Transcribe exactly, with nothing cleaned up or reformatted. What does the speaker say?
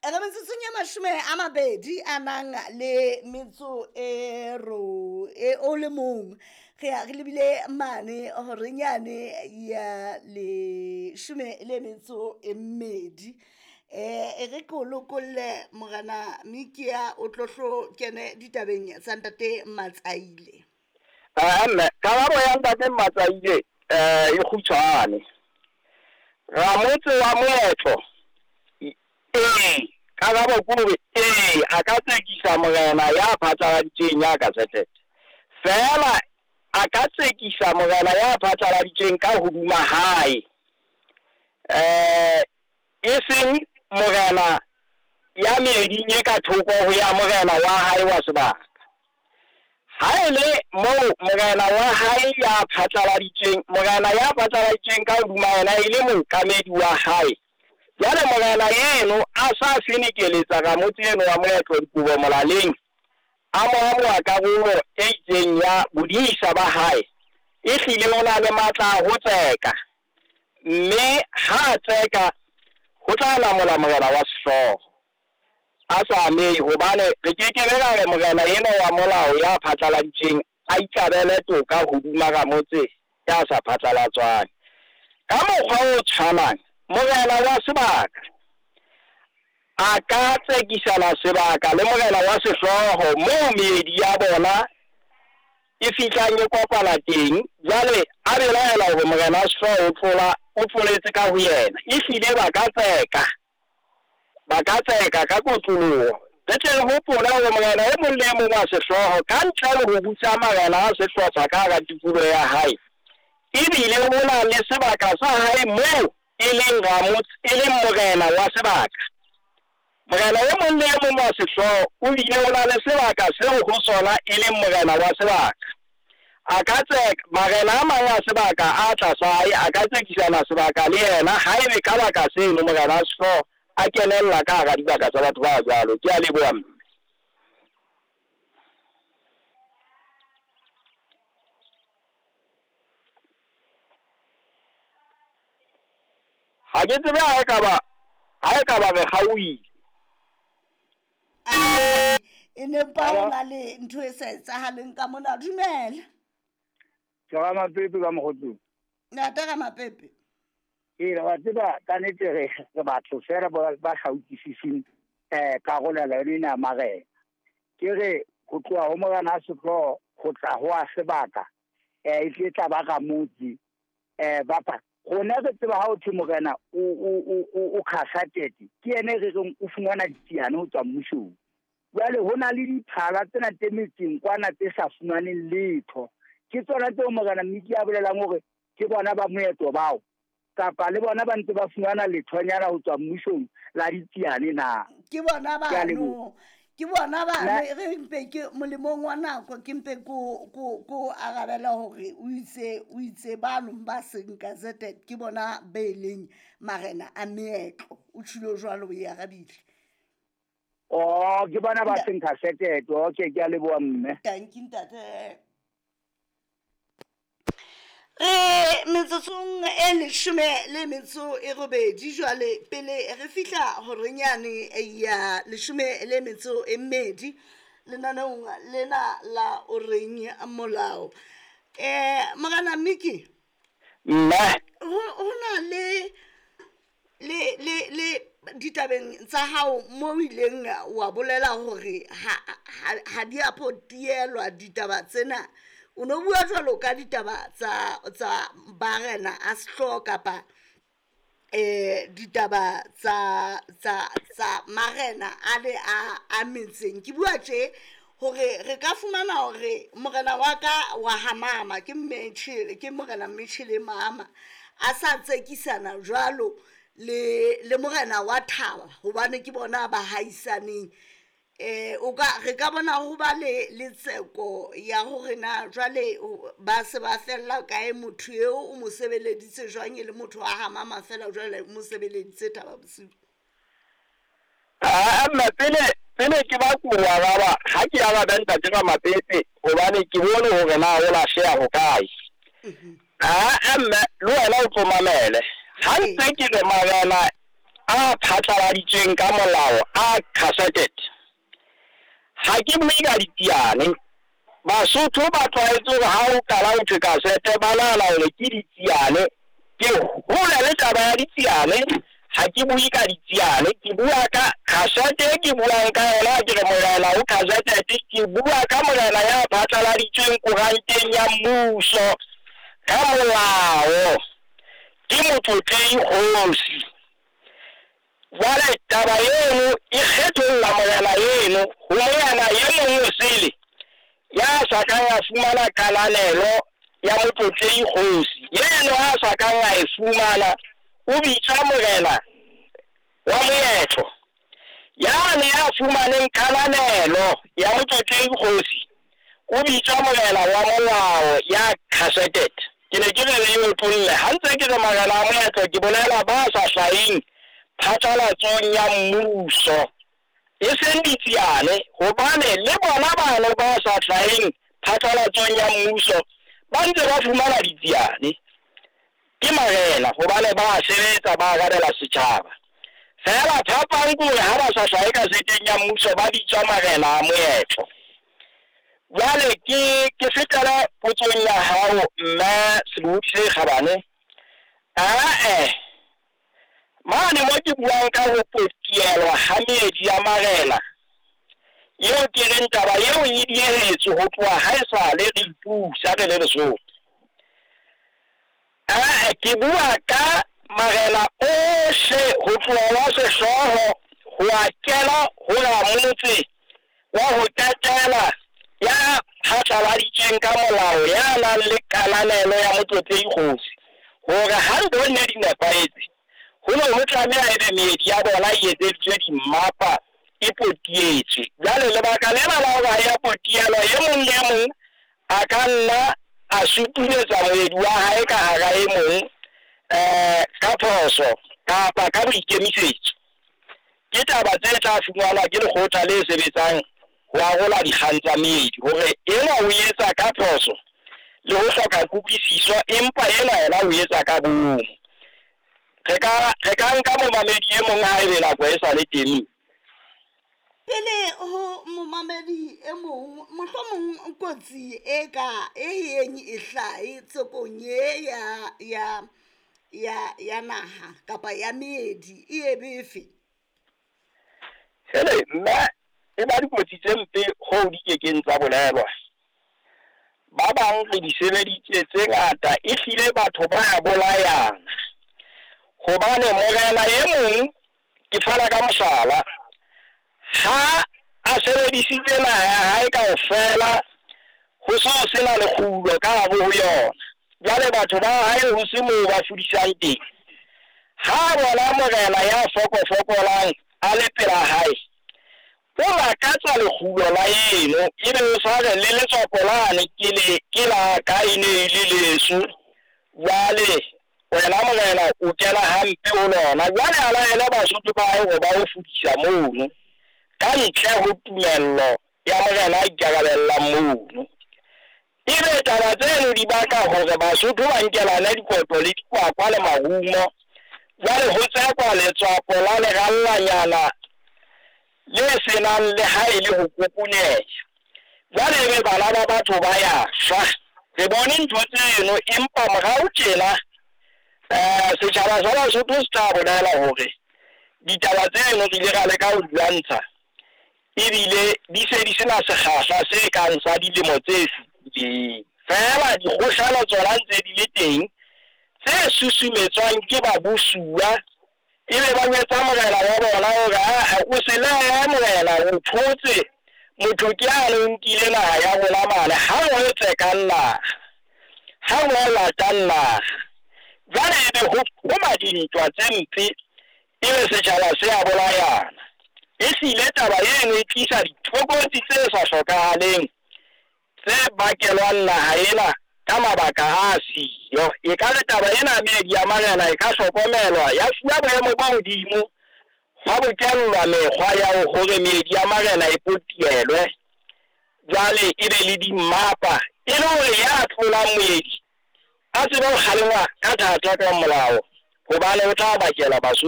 Re metsotsong ya mashome a mabedi a nang le metso e ro e o le mong, re ya re lebile mane horenyane ya leshome le metso e mmedi. um E re ke o lokolle morena Mikia, o tlo hlo kene ditabeng tsa ntate Matsaile. Ah, mme karabo ya ntate Matsaile eh e kgutshwane. Ramotse wa moetlo, ee, karabo ke hore ee, a ka tsekisa morena ya phatlaladitsweng ya gazetted. Feela a ka tsekisa morena ya phatlaladitsweng ka hodima hae, eh e seng morena ya meeding e ka thoko ho ya morena wa hae wa sebaka. Ha e le moo morena wa hae ya phatlaladitsweng, morena ya phatlaladitsweng ka hodima yena e le mookamedi wa hae, jwale morena eno a sa fenekeletsa ramotse eno wa moetlo dikobo molaleng, a mo amoha karolo e itseng ya bodisa ba hae, e hlile o na le matla a ho tseka, mme ha a tseka ho tla lamola morena wa sehlooho a sa amehe, hobane re ke ke be ra re morena eno wa molao ya phatlaladitsweng a ikabele toka hodima ramotse ya sa phatlalatswang. Ka mokgwa o tshwanang, morena wa sebaka a ka tsekisana sebaka le morena wa sehlooho moo meedi ya bona e fihlang e kopana teng. Jwale a belaela hore morena wa sehlooho o tlola o tloletse ka ho yena, ehlile ba ka tseka, ba ka tseka ka kotloloho. Re tle re hopole hore morena e mong le e mong wa sehlooho ka ntle le ho busa marena a sehlopha ka hara tikoloho ya hae, ebile ho na le sebaka sa hae moo e leng ramotse, e leng morena wa sebaka. Morena e mong le e mong wa sehlooho o bile o na le sebaka seo ho sona e leng morena wa sebaka. A ka tseka marena a mang a sebaka a tlasa hae, a ka tsekisana sebaka le yena haebe ka baka seno morena wa sehlooho a kenella ka hara dibaka tsa batho ba jwalo. Ke a leboha mme. Ha ke tsebe ha e ka ba, ha e ka ba re kgaohile. E ne mpa ho na le ntho e sa etsahaleng ka mona. Dumela. Ke Ramapepe ka Mokgotsong. Ntate Ramapepe. Ee, wa tseba ka nnete re re batho feela ba ba sa utlwisiseng eh karolelo yone ena ya marena. Ke re ho tloha ho morena a sehlooho ho tla ho a sebaka, eh e tle tla ba ramotse, eh ba pa rona re tseba ha ho thwe morena o o o o gazetted, ke yena e re reng o fumana ditsiane ho tswa mmusong. Jwale ho na le diphala tsena tse metseng kwana tse sa fumaneng letho, ke tsona tseo morena Mmiki a bolelang hore ke bona ba moetlo bao, kapa le bona ba ntse ba fumana lethonyana ho tswa mmusong la ditsiane na? Ke bona Ke a bano, leboha. ke bona bano. Nna- E re mpe ke molemong wa nako, ke mpe ko ko ko arabela hore o itse, o itse bano ba seng gazetted ke bona be leng marena a meetlo. O tjhilo jwalo, o e arabile. Oh, ke bona ba Nda- seng gazetted. Okay, ke a leboha mme. Thank you ntate. Re metsotsong e leshome le metso e robedi jwale, pele re fihla horenyane ya leshome le metso e mmedi lenaneong lena la o reng molao. Eh morena Miki, Mme. ho ho na le le le le ditabeng tsa hao mo o ileng wa bolela hore ha ha ha di a potielwa ditaba tsena. O no bua jwalo ka ditaba tsa tsa barena a sehlooho kapa eh ditaba tsa tsa tsa marena a le a a metseng. Ke bua tje hore re ka fumana hore morena wa ka wa ha mama ke Mmetjhele, ke morena Mmetjhele mama a sa tsekisana jwalo le le morena wa Thaba, hobane ke bona ba haisaneng. Eh o ka re ka bona ho ba le le tseko ya hore na jwale ba se ba fella kae, motho eo o mo sebeleditse jwang, e le motho wa ha mama fela jwale o mo sebeleditse Thaba Bosiu. Ah, mme pele pele ke ba ko araba, ha ke arabe ntate Ramapepe hobane ke bone hore na o lahleha ho kae. Ah, mme le wena o tlo mamele. Ha ntse ke re marena a phatlaladitsweng ka molao a gazetted. Ha ke bue ka ditsiane. Basotho ba tlwaetse hore ha o qala ho thwe gazette ba nahana hore ke ditsiane. Ke hole le taba ya ditsiane, ha ke bue ka ditsiane, ke bua ka gazette e ke buang ka yona, ke re morena o gazetted, ke bua ka morena ya phatlaladitsweng koranteng ya mmuso ka molao, ke Motlotlehi Kgosi. Jwale taba eno e kgetholla morena eno ho morena e mong o sele ya sa kang a fumana kananelo ya Motlotlehi Kgosi. Eno a sa kang a e fumana o bitswa morena wa moetlo. Yane ya fumaneng kananelo ya Motlotlehi Kgosi o bitswa morena wa molao ya gazetted. Ke ne ke re re otlolle ha ntse ke re marena a moetlo, ke bolela ba sa hlaheng phatlalatsong ya mmuso, e seng ditsiane, hobane le bona bano ba sa hlaheng phatlalatsong ya mmuso ba ntse ba fumana ditsiane. Ke marena hobane ba sebetsa, ba arabela setjhaba. Feela phapang ke hore ha ba sa hlahe gazeteng ya mmuso ba bitswa marena a moetlo. Jwale ke ke fetela potsong ya hao mme Sebopi se Kgabane. Ae, mane mo ke buang ka ho potielwa ha meedi ya marena, eo ke reng taba eo e diehetswe ho tloha ha esale re ipusa re le Lesotho. Ae, ke bua ka marena ohle ho tloha wa sehlooho ho a kena ho ramotse wa ho qetela ya phatlaladitsweng ka molao ya nang le kananelo ya Motlotlehi Kgosi, hore ha ntho ne di nepahetse ho ne ho tlameha ebe meedi ya bona e etseditswe dimmapa, e potietswe. Jwale lebaka lena la hore ha ya potielwa, e mong le e mong a ka nna a sutuletsa moedi wa hae ka hara e mong um ka phoso kapa ka boikemisetso. Ke taba tse tla fumanwa ke lekgotla le sebetsang ho arola dikgang tsa meedi, hore enwa o etsa ka phoso le ho hloka kutlwisiso, empa ena yena o etsa ka bomo. Re ka re ka nka momamedi e mong ha ebe nako e sa le teng. Pele ho momamedi e mong, mohlomong kotsi e ka e yeng e hlahe tsekong e ya ya ya ya naha kapa ya meedi e ebe efe? Hele mme, e ba dikotsi tse mpe hoo di kekeng tsa bolelwa. Ba bang re di sebeditse tse ngata, ehlile batho ba ya bolayana. Hobane morena e mong, ke fana ka mohlala, ha a sebedisitse naha ya hae kaofela, ho so sena lekgulo ka hare ho yona. Jwale batho ba hae ho se moo ba fudisang teng. Ha bona morena ya fokofokolang a le pela hae, o lakatsa lekgulo la eno, ebe o sa re le letswapo lane ke le ke la ka e ne e le leso. Jwale wena morena o kena hampe ho lona. Jwale a laele Basotho ba hae hore ba o fudisa mono ka ntle ho tumello ya morena a ikarabellang mono. Ebe taba tseno di baka hore Basotho ba nkelane dikoto le dikwakwa le marumo. Jwale ho tsekwa letswapo la lerallanyana le senang le ha e le ho kokoneha. Jwale ebe bana ba batho ba ya shwa. Re bone ntho tseno, empa morao tjena eh setjhaba sa Basotho se tla bolela hore ditaba tseno re ile ra leka ho di lwantsha, ebile di se di sena sekgahla se kang sa dilemo tse fetileng. Feela dikgohlano tsona ntse di le teng tse susumetswang ke babusuwa, ebe ba jwetsa morena wa bona hore aa o se lehe morena, o thotse motho ke yane o nkile naha ya rona mane, ha o tsekang naha, ha o latang naha. Jwale ebe ho qhoma dintwa tse mpe, ebe setjhaba se a bolayana. Ehlile taba eno e tlisa ditlokotsi tse sa hlokahaleng tse bakelwang naha ena ka mabaka a siyo. E ka re taba ena meedi ya marena e ka hlokomelwa, ya fuwa boemo bo hodimo, hwa bokellwa mekgwa ya hore meedi ya marena e potielwe, jwale e be le dimmapa, e le hore ya tlolang moedi a tsebe ho kgalengwa ka thata ka molao, hobane o tla bakela Basotho